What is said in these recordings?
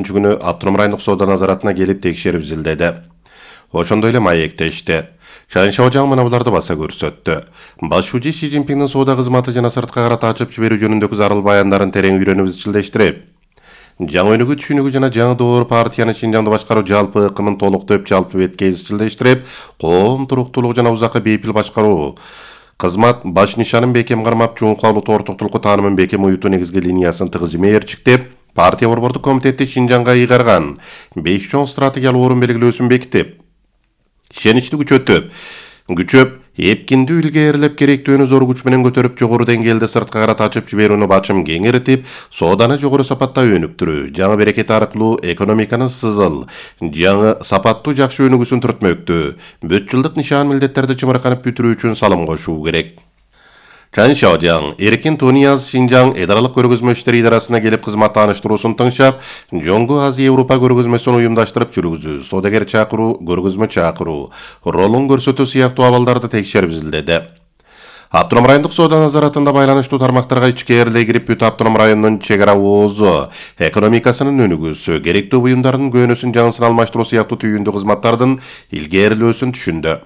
күнү автоном райондук соода назаратына келип текшерип изилдеди. Ошондой эле маектешти. Чан Шаожаң мына буларды баса көрсөттү. Башчы Си Цзиньпиндин соода кызматы жана сыртка карата ачып жиберүү жөнүндөгү зарыл баяндарын терең үйрөнүп изчилдештирип, жаңы өнүгүү түшүнүгү жана жаңы доор партияны Шинжаңды башкаруу жалпы ыкымын толуктоп жалпы бетке изчилдештирип, коом туруктуулугу жана узакка бейпил башкаруу кызмат баш нишанын бекем кармап, жуункалуу тортуктулукку таанымын бекем уютуу негизги линиясын тыгыз жимээрчиктеп, партия борбордук комитети Шинжаңга ыйгарган 5 чоң стратегиялык орун белгилөөсүн бекитип, ишеничти күчөп, эпкиндүү илгээрилеп керектүүнү зор күч менен көтөрүп, жогору деңгээлде сыртка карата ачып жиберүүнү бачым кеңиртип, сооданы жогору сапатта өнүктүрүү, жаңы берекет аркылуу экономиканын сызыл, жаңы сапаттуу жакшы өнүгүүсүн түртмөктү, 4 жылдык нишан милдеттерди чымырканып бүтүрүү үчүн салым кошуу керек. Чан Шаожаң эркин Тунияз Шинжаң эдаралык көргөзмө иштери идарасына келип кызмат тааныштыруусун тыңшап, Жоңгу Азия Европа көргөзмөсүн уюмдаштырып жүргүзүү, соодагер чакыруу, көргөзмө чакыруу, ролун көрсөтүү сыяктуу абалдарды текшерип изилдеди. Автоном райондук соода назаратында байланыштуу тармактарга ичкээрлей кирип, бүт автоном райондун чек ара оозу, экономикасынын өнүгүүсү, керектүү буюмдардын көөнөсүн жаңысын алмаштыруу сыяктуу түйүндүү кызматтардын илгээрилөөсүн түшүндү.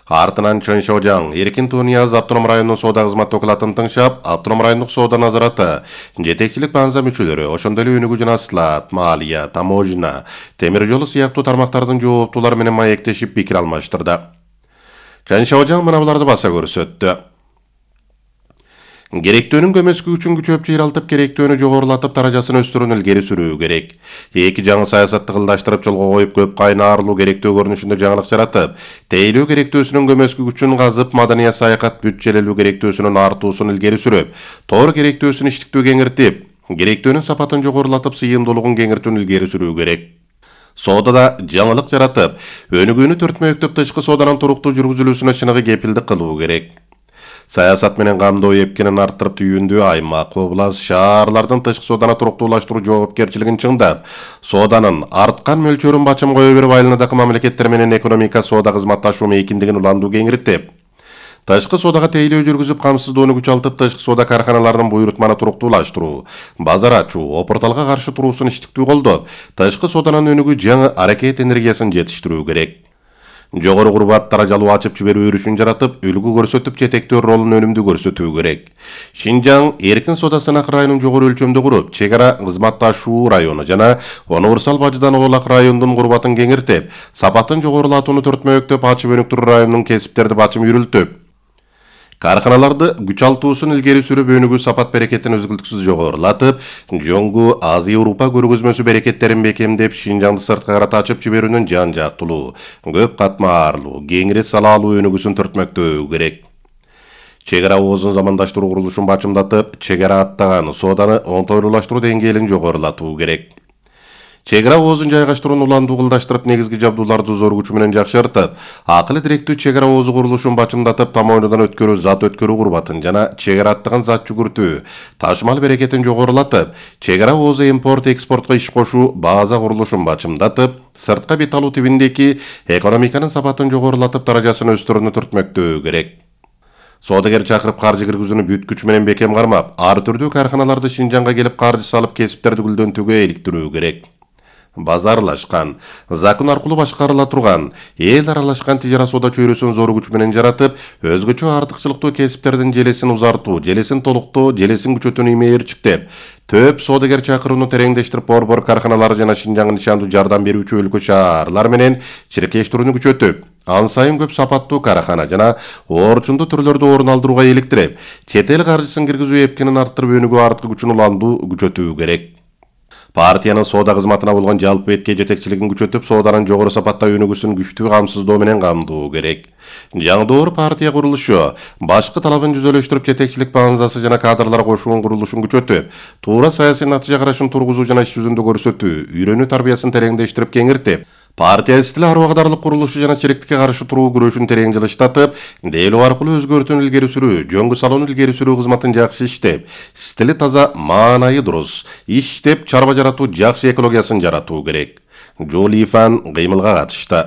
Артынан Чан Шаожаң эркин Тунияз автоном райондун соода кызмат окулатын тыңшап, автоном райондук соода назараты, жетекчилик баңза мүчөлөрү, ошондой эле өнүгүү жана сылаат, малия, таможня, темир жолу сыяктуу тармактардын жооптуулары менен маектешип пикир алмаштырды. Чан Шаожаң мына буларды баса көрсөттү. Керектөөнүн көмөскү үчүн күчөп жыйралтып, керектөөнү жогорулатып, даражасын өстүрүүнү илгери сүрүү керек. Эки жаңы саясатты кылдаштырып, жолго коюп, көп кайнаарлуу керектөө көрүнүшүндө жаңылык жаратып, тейлөө керектөөсүнүн көмөскү күчүн казып, маданият саякат бүтчелелүү керектөөсүнүн артуусун илгери сүрүп, тоор керектөөсүн иштиктүү кеңиртип, керектөөнүн сапатын жогорулатып, сыйымдуулугун кеңиртүүнү илгери сүрүү керек. Соодада жаңылык жаратып, өнүгүүнү төртмөктөп, тышкы сооданын туруктуу жүргүзүлүүсүнө чыныгы кепилдик кылуу керек. Саясат менен камдоо эпкинин арттырып, түйүндүү аймак, област, шаарлардын тышкы сооданы туруктуулаштыруу жоопкерчилигин чыңдап, сооданын арткан мөлчөрүн бачым кое берип, айылындагы мамлекеттер менен экономика соода кызматташуу мейкиндигин уландуу кеңиртип, тышкы соодага тейлөө жүргүзүп, камсыздоону күчалтып, тышкы соода карканаларынын буйрутманы туруктуулаштыруу, базар ачуу, опурталга каршы туруусун иштиктүү колдоп, тышкы сооданын өнүгүү жаңы аракет энергиясын жетиштирүү керек. Жогору курбат даражалуу ачып жиберүү өрүшүн жаратып, үлгү көрсөтүп, жетектөө ролун өнүмдүү көрсөтүү керек. Шинжаң эркин соода сынак районун жогору өлчөмдө куруп, чек ара кызматташуу району жана универсал бажыдан оолак райондун курбатын кеңиртип, сапатын жогорулатууну төртмөктөп, ачып өнүктүрүү районунун кесиптерди бачым үйрүлтүп, карканаларды күчалтуусун илгери сүрүп, өнүгүү сапат берекетин үзгүлтүксүз жогорулатып, Жоңгу Азия Европа көргөзмөсү берекеттерин бекемдеп, Шинжаңды сыртка карата ачып жиберүүнүн жан жактылуу, көп катмарлуу, кеңири салаалуу өнүгүүсүн төртмөктөө керек. Чек ара оозун замандаштыруу курулушун бачымдатып, чек ара аттаган сооданы оңтойлуулаштыруу деңгээлин жогорулатуу керек. Чек ара оозун жайгаштырууну уландуу кылдаштырып, негизги жабдууларды зор күч менен жакшыртып, акыл директүү чек ара оозу курулушун бачымдатып, тамоонудан өткөрүү, зат өткөрүү курбатын жана чек ара аттаган зат жүгүртүү, ташымал берекетин жогорулатып, чек ара оозу импорт-экспортко иш кошуу база курулушун бачымдатып, сыртка бет алуу тибиндеги экономиканын сапатын жогорулатып, даражасын өстүрүүнү түртмөктөө керек. Соодагер чакырып, каржы киргизүүнү бүт күч менен бекем кармап, ар түрдүү карканаларды Шинжаңга келип каржы салып, кесиптерди гүлдөнтүүгө иликтирүү керек. Базарлашкан, закон аркылуу башкарыла турган, эл аралашкан тижара соода чөйрөсүн зор күч менен жаратып, өзгөчө артыкчылыктуу кесиптердин желесин узартуу, желесин толуктоо, желесин күчөтүүнү имээрчиктеп, төп соодагер чакырууну тереңдештирип, борбор карканалары жана Шинжаңга нишандуу жардам берүүчү өлкө шаарлар менен чиркештирүүнү күчөтүп, ан сайын көп сапаттуу каракана жана орчундуу түрлөрдү орун алдырууга иликтирип, чет эл каржысын киргизүү эпкинин арттырып, өнүгүү арткы күчүн уландуу күчөтүү керек. Партиянын соода кызматына болгон жалпы бетке жетекчилигин күчөтүп, сооданын жогору сапатта өнүгүүсүн күчтүү камсыздоо менен камдоо керек. Жаңы доор партия курулушу башкы талабын жүзөлөштүрүп, жетекчилик баңзасы жана кадрлар кошуун курулушун күчөтүп, туура саясий натыйжа карашын тургузуу жана иш жүзүндө көрсөтүү, үйрөнүү тарбиясын тереңдештирип кеңиртип, партия стили ар убагыдарлык курулушу жана чириктикке каршы туруу күрөшүн терең жылыштатып, дейлөө аркылуу өзгөртүүнү илгери сүрүү, жөнгү салууну илгери сүрүү кызматын жакшы иштеп, стили таза, маанайы дурус иштеп, чарба жаратуу, жакшы экологиясын жаратуу керек. Жолифан кыймылга катышты.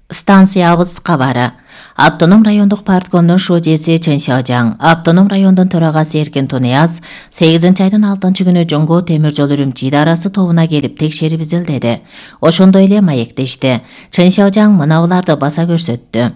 Станциябыз кабары. Автоном райондук парткомдун шожеси Чын Сяожаң, автоном райондун төрагасы Эркин Тунияз 8-айдын 6-күнү Жоңго темир жол Үрүмчү идарасы тобуна келип текшерип изилдеди. Ошондой эле маектешти. Чын Сяожаң мынабуларды баса көрсөттү.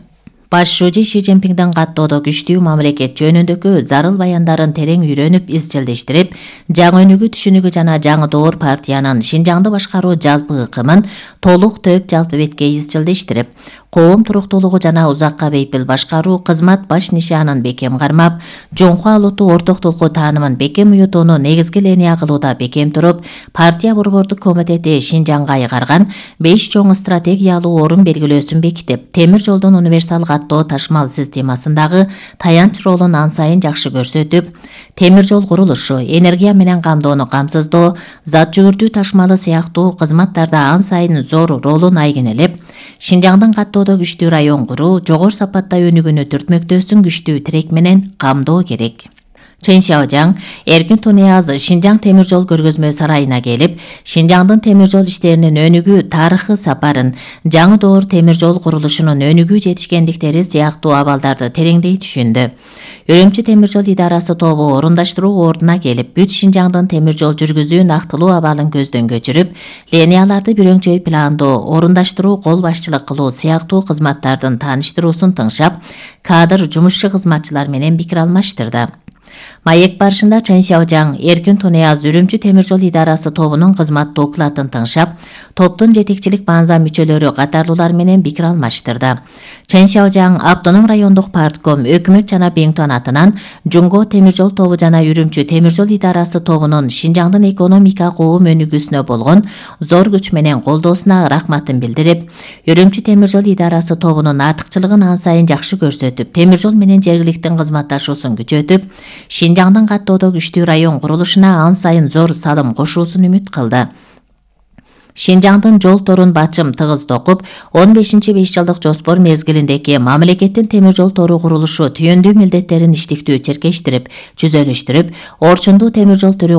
Баш шоже Ши Цзиньпиңдин каттоодо күчтүү мамлекет жөнүндөгү зарыл баяндарын терең үйрөнүп, изчилдештирип, жаңы өнүгүү түшүнүгү жана жаңы доор партиянын Шинжаңды башкаруу жалпы ыкымын толук төп жалпы бетке изчилдештирип, коом туруктуулугу жана узакка бейпил башкаруу кызмат баш нишанын бекем кармап, жоңку алууту ортоктулуку таанымын бекем уютууну негизги линия кылууда бекем туруп, партия борбордук комитети Шинжаңга айгарган 5 чоң стратегиялуу орун белгилөөсүн бекитип, темир жолдун универсал каттоо ташмал системасындагы таянч ролун ан сайын жакшы көрсөтүп, темир жол курулушу, энергия менен камдоону камсыздоо, зат жүгүртүү ташмалы сыяктуу кызматтарда ан сайын зор ролун айгинелеп, Шинжаңдын каттоодо күчтүү район куруу, жогору сапатта өнүгүүнү түртмөктөөсүн күчтүү тирек менен камдоо керек. Чын Сяожаң Эркин Тунияз Шинжаң темир жол көргөзмө сарайына келип, Шинжаңдын темир жол иштеринин өнүгүү тарыхы сапарын, жаңы доор темир жол курулушунун өнүгүү жетишкендиктери сыяктуу абалдарды тереңдей түшүндү. Үрүмчү темир жол идарасы тобу орундаштыруу ордуна келип, бүт Шинжаңдын темир жол жүргүзүүнүн актылуу абалын көздөн көчүрүп, линияларды бирөңчөй пландоо, орундаштыруу, кол башчылык кылуу сыяктуу кызматтардын тааныштыруусун тыңшап, кадр жумушчу кызматчылар менен пикир алмаштырды. Маек барышында Чын Сяожаң Эркин Тунияз Үрүмчү темир жол идарасы тобунун кызмат докладын тыңшап, топтун жетекчилик баанза мүчөлөрү катарлуулар менен пикир алмаштырды. Чын Сяожаң автоном райондук партком, өкмөт жана Беңтон атынан Жоңго темир жол тобу жана Үрүмчү темир жол идарасы тобунун Шинжаңдын экономика коом өнүгүүсүнө болгон зор күч менен колдоосуна рахматын билдирип, Үрүмчү темир жол идарасы тобунун артыкчылыгын ан сайын жакшы көрсөтүп, темир жол менен жергиликтин кызматташуусун күчөтүп, Шинжаңдын каттоодо күчтүү район курулушуна ан сайын зор салым кошуусун үмүт кылды. Шинжаңдын жол торун бачым тыгыз токуп, 15-5 жылдык жоспор мезгилиндеги мамлекеттин темир жол тору курулушу түйүндүү милдеттерин иштиктүү черкештирип, чүзөлүштүрүп, орчундуу темир жол түрү